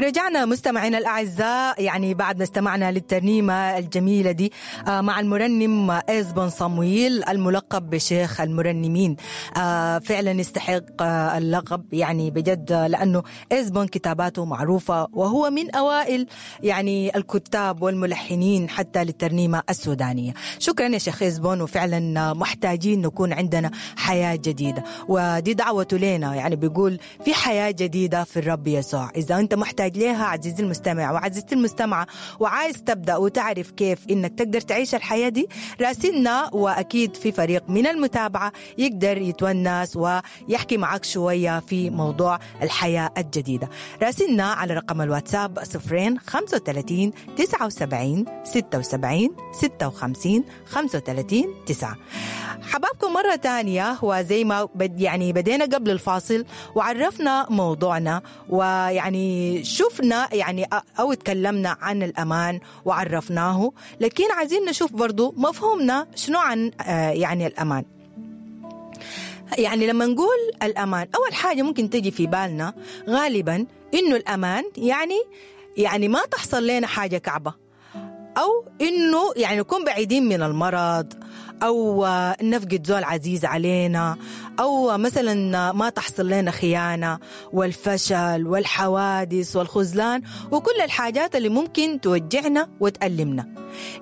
رجعنا مستمعينا الأعزاء، يعني بعد ما استمعنا للترنيمة الجميلة دي مع المرنم إزبون صمويل الملقب بشيخ المرنمين. فعلا يستحق اللقب يعني بجد، لأنه إزبون كتاباته معروفة وهو من أوائل يعني الكتاب والملحنين حتى للترنيمة السودانية. شكرا يا شيخ إزبون، وفعلا محتاجين نكون عندنا حياة جديدة، ودي دعوته لنا، يعني بيقول في حياة جديدة في الرب يسوع. إذا أنت محتاج ليها عزيزي المستمع وعزيزتي المستمعة، وعايز تبدأ وتعرف كيف إنك تقدر تعيش الحياة دي، راسلنا، وأكيد في فريق من المتابعة يقدر يتونس ويحكي معك شوية في موضوع الحياة الجديدة. راسلنا على رقم الواتساب 0 35 79 76 56 35 9. حبابكم مرة تانية، وزي ما يعني بدينا قبل الفاصل وعرفنا موضوعنا، ويعني شفنا يعني أو تكلمنا عن الأمان وعرفناه، لكن عايزين نشوف برضو مفهومنا شنو عن يعني الأمان. يعني لما نقول الأمان، أول حاجة ممكن تجي في بالنا غالبا إنه الأمان يعني ما تحصل لنا حاجة كعبة، أو إنه يعني نكون بعيدين من المرض، أو نفقد زول عزيز علينا، أو مثلا ما تحصل لنا خيانة والفشل والحوادث والخذلان وكل الحاجات اللي ممكن توجعنا وتألمنا.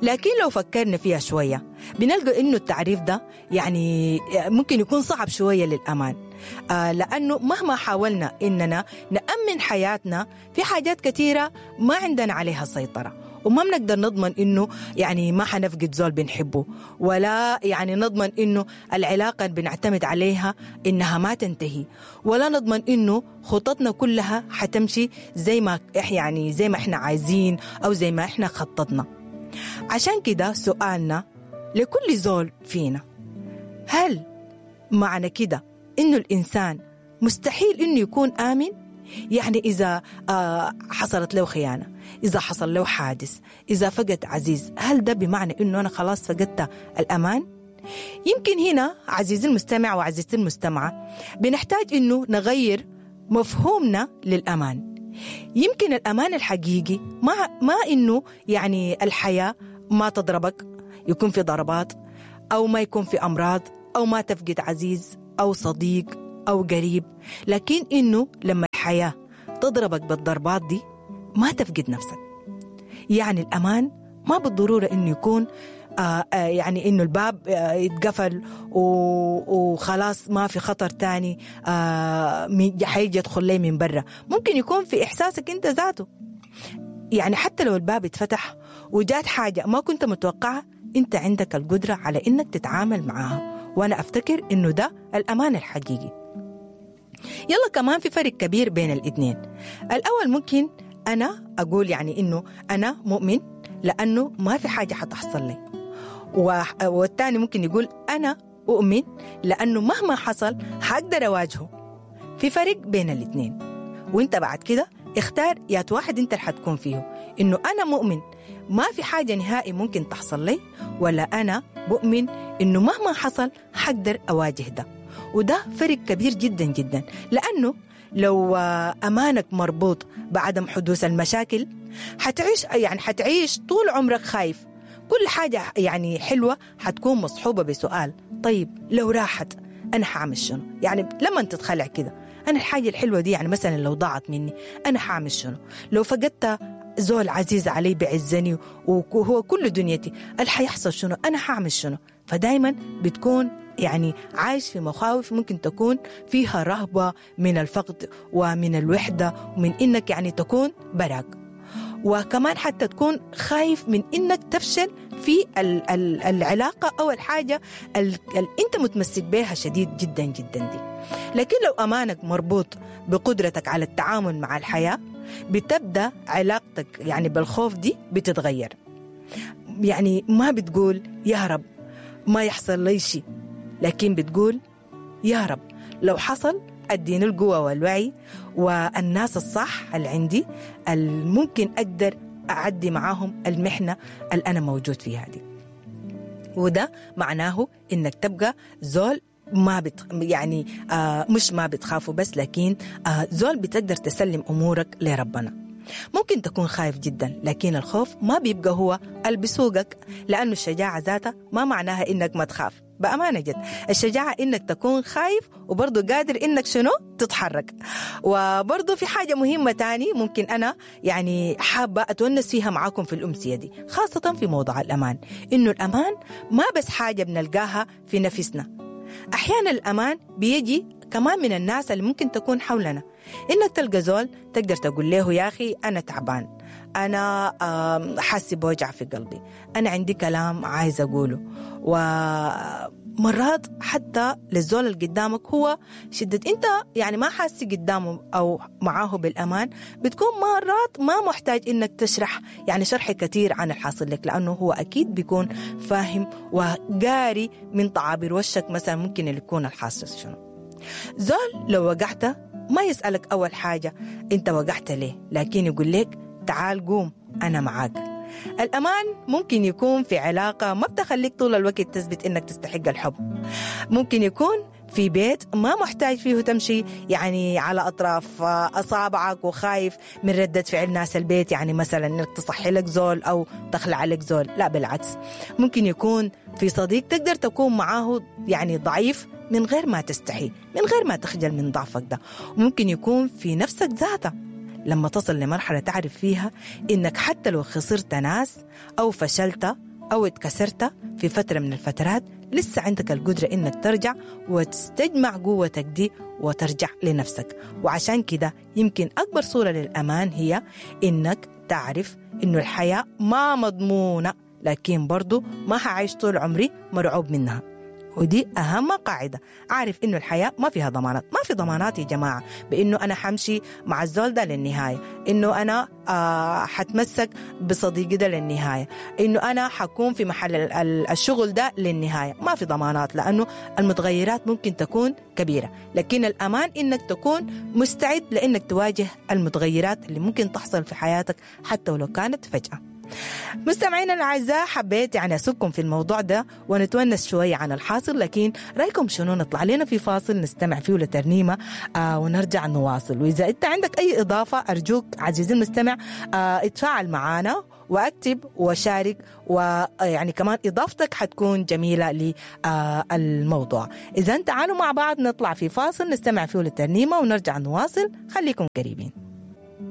لكن لو فكرنا فيها شوية بنلقى إنه التعريف ده يعني ممكن يكون صعب شوية للأمان، لأنه مهما حاولنا إننا نأمن حياتنا في حاجات كثيرة ما عندنا عليها سيطرة، وما بنقدر نضمن إنه يعني ما حنفقد زول بنحبه، ولا يعني نضمن إنه العلاقة اللي بنعتمد عليها إنها ما تنتهي، ولا نضمن إنه خططنا كلها حتمشي زي ما يعني زي ما إحنا عايزين أو زي ما إحنا خططنا. عشان كده سؤالنا لكل زول فينا، هل معنى كده إنه الإنسان مستحيل إنه يكون آمن؟ يعني إذا حصلت له خيانة، إذا حصل له حادث، إذا فقد عزيز، هل ده بمعنى إنه أنا خلاص فقدت الأمان؟ يمكن هنا عزيزي المستمع وعزيزتي المستمعة بنحتاج إنه نغير مفهومنا للأمان. يمكن الأمان الحقيقي ما إنه يعني الحياة ما تضربك، يكون في ضربات، أو ما يكون في أمراض، أو ما تفقد عزيز أو صديق أو قريب، لكن إنه لما الحياة تضربك بالضربات دي ما تفقد نفسك. يعني الأمان ما بالضرورة إنه يكون يعني إنه الباب يتقفل وخلاص ما في خطر تاني حيجي يدخل لي من برا. ممكن يكون في إحساسك أنت ذاته، يعني حتى لو الباب اتفتح وجات حاجة ما كنت متوقعة، أنت عندك القدرة على إنك تتعامل معاها، وأنا أفتكر إنه ده الأمان الحقيقي. يلا كمان في فرق كبير بين الاثنين. الأول ممكن أنا أقول يعني إنه أنا مؤمن لأنه ما في حاجة حتحصل لي، والثاني ممكن يقول أنا أؤمن لأنه مهما حصل حقدر أواجهه. في فرق بين الاثنين، وانت بعد كده اختار يا واحد انت اللي حتكون فيه، إنه أنا مؤمن ما في حاجة نهائي ممكن تحصل لي، ولا أنا بؤمن إنه مهما حصل حقدر أواجه ده. وده فرق كبير جدا جدا، لأنه لو أمانك مربوط بعدم حدوث المشاكل حتعيش، يعني حتعيش طول عمرك خايف. كل حاجة يعني حلوة حتكون مصحوبة بسؤال، طيب لو راحت أنا حعمل شنو؟ يعني لما تتخلع كده، أنا الحاجة الحلوة دي يعني مثلا لو ضاعت مني أنا حعمل شنو؟ لو فقدت زول عزيز علي بعزني وهو كل دنيتي، الحيحصل شنو؟ أنا حعمل شنو؟ فدايما بتكون يعني عايش في مخاوف ممكن تكون فيها رهبة من الفقد ومن الوحدة ومن إنك يعني تكون براك، وكمان حتى تكون خايف من إنك تفشل في العلاقة أو الحاجة اللي أنت متمسك بها شديد جدا جدا دي. لكن لو أمانك مربوط بقدرتك على التعامل مع الحياة، بتبدأ علاقتك يعني بالخوف دي بتتغير. يعني ما بتقول يا رب ما يحصل لي شيء، لكن بتقول يا رب لو حصل أديني القوة والوعي والناس الصح اللي عندي الممكن أقدر أعدي معاهم المحنة اللي أنا موجود فيها دي. وده معناه إنك تبقى زول ما يعني مش ما بتخافوا بس، لكن زول بتقدر تسلم أمورك لربنا. ممكن تكون خايف جدا، لكن الخوف ما بيبقى هو اللي بيسوقك، لأنه الشجاعة ذاتها ما معناها إنك ما تخاف. بأمانة جد الشجاعة إنك تكون خايف وبرضو قادر إنك شنو تتحرك. وبرضو في حاجة مهمة تاني ممكن أنا يعني حابة أتونس فيها معاكم في الأمسية دي، خاصة في موضوع الأمان، إنه الأمان ما بس حاجة بنلقاها في نفسنا. أحيانا الأمان بيجي كمان من الناس اللي ممكن تكون حولنا، إنك تلقى زول تقدر تقول له يا أخي أنا تعبان، أنا حاسس بوجع في قلبي، أنا عندي كلام عايز أقوله. ومرات حتى للزول اللي قدامك هو شدة أنت يعني ما حاسس قدامه أو معاه بالأمان، بتكون مرات ما محتاج إنك تشرح يعني شرح كثير عن الحاصل لك، لأنه هو أكيد بيكون فاهم وقاري من تعابير وشك مثلا ممكن اللي يكون الحاصل شنو. زول لو وقعت ما يسألك أول حاجة أنت وقعت ليه، لكن يقول لك تعال قوم أنا معاك. الأمان ممكن يكون في علاقة ما بتخليك طول الوقت تثبت إنك تستحق الحب. ممكن يكون في بيت ما محتاج فيه تمشي يعني على أطراف أصابعك وخايف من ردة فعل ناس البيت، يعني مثلا إنك تصحي لك زول أو تخلع لك زول، لا بالعكس. ممكن يكون في صديق تقدر تكون معاه يعني ضعيف من غير ما تستحي، من غير ما تخجل من ضعفك ده. وممكن يكون في نفسك ذاتها لما تصل لمرحلة تعرف فيها إنك حتى لو خسرت ناس أو فشلت أو اتكسرت في فترة من الفترات، لسه عندك القدرة إنك ترجع وتستجمع قوتك دي وترجع لنفسك. وعشان كده يمكن أكبر صورة للأمان هي إنك تعرف إنه الحياة ما مضمونة، لكن برضو ما هعيش طول عمري مرعوب منها. ودي أهم قاعدة. عارف إنه الحياة ما فيها ضمانات، ما في ضمانات يا جماعة بإنه أنا حمشي مع الزول ده للنهاية، إنه أنا حتمسك بصديقي ده للنهاية، إنه أنا حكون في محل الشغل ده للنهاية. ما في ضمانات لأنه المتغيرات ممكن تكون كبيرة، لكن الأمان إنك تكون مستعد لإنك تواجه المتغيرات اللي ممكن تحصل في حياتك حتى ولو كانت فجأة. مستمعينا الأعزاء، حبيت يعني أسوقكم في الموضوع ده ونتونس شوية عن الحاصل، لكن رأيكم شنو؟ نطلع لنا في فاصل نستمع فيه لترنيمة ونرجع نواصل. وإذا أنت عندك أي إضافة أرجوك عزيزي المستمع اتفاعل معنا واكتب وشارك، ويعني كمان إضافتك حتكون جميلة للموضوع. إذا تعالوا مع بعض نطلع في فاصل نستمع فيه للترنيمة ونرجع نواصل، خليكم قريبين.